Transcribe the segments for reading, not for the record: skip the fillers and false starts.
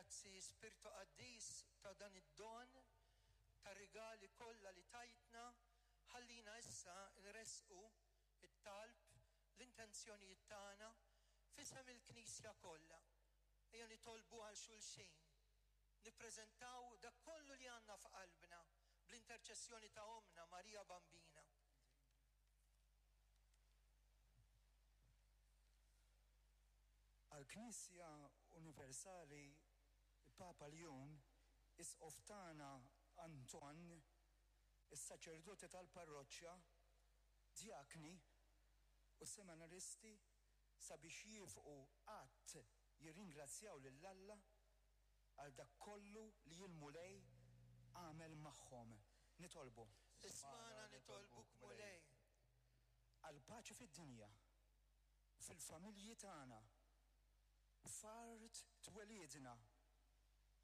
Grazzi Spirtu Qaddis ta' dan id-don, tar-rigali kollha li tajtna, ħallina issa nressqu t-talb, l-intenzjonijiet tagħna f'isem il-Knisja kollha. Ejja nitolbu għal xulxin, nippreżentaw dak kollu li għandna f'qalbna bl-interċessjoni ta' Ommna Marija Bambina. Għall-Knisja Universali, il-Papa Ljun, Isqof tagħna Anton, is-saċerdoti tal-parroċċa, djakni u seminaristi sabiex jiefqu qatt jirringrazzjaw lil Alla għal dak kollu li l-Mulej għamel magħhom. Nitolbu. Ismagħna nitolbuk Mulej. Għall-paċi fid-dinja, fil-familji tagħna, f'art twelidna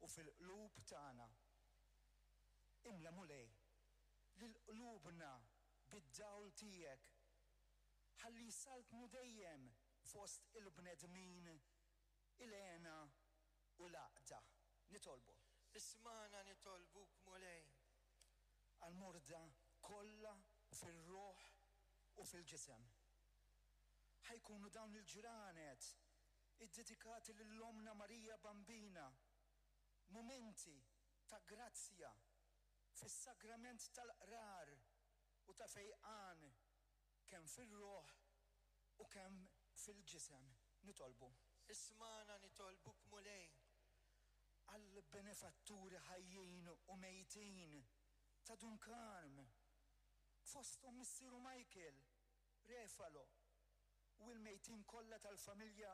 u fil-qlub tagħna. Imla Mulej lil qlubna bid-dawl tiegħek ħalli jsaltnu dejjem fost il-bnedmin il-hena u l-għaqda. Nitolbu. Ismagħna nitolbuk Mulej. Għall-morda kollha fir-ruħ u fil-ġisem. Ħa jkunu dawn il-ġranet iddedikati lil Ommna Marija Bambina mumenti ta' grazzja fis-sagrament tal-qrar u ta' fejqan kemm fir-ruħ u kemm fil-ġisem. Nitolbu. Ismagħna nitolbuk Mulej. Għall-benefatturi ħajjin u mejtin ta' Dun Karm, fosthom missieru Michael Refalo u l-mejtin kollha tal-familja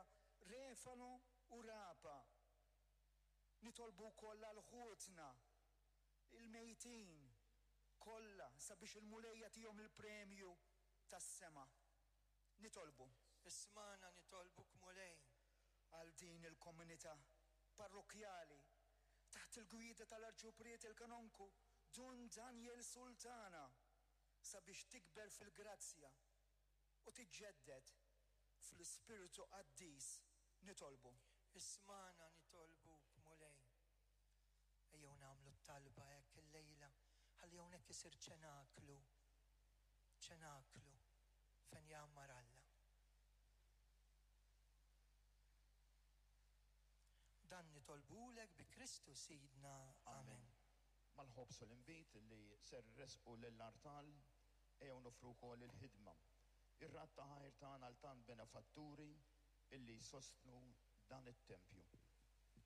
Refalo u Rapa. Nitolbu wkoll għal ħutna l-mejtin kollha sabiex il-Mulej jagħtihom il-premju tas-sema. Nitolbu. Ismagħna nitolbuk Mulej. Għal din il-komunità parrokkjali taħt il-gwida tal-Arċipriet il-Kanonku Dun Daniel Sultana sabiex tikber fil-grazzja u tiġġedded fl-Ispirtu Qaddis nitolbu. Ismagħna nitolbuk Mulej. Ejjew nagħmlu t-talba hekk illejla ħalli hawnhekk isir ċenaklu, ċenaklu fejn jgħammar Alla. Dan nitolbulek bi Kristu Sidna. Amen. Mal-ħobż u l-inbid li ser iressqu lill-artal, ejjew noffru wkoll il-ħidma, ir-radd ta' ħajr tagħna għal tant benefatturi illi jsostnu dan it-tempju.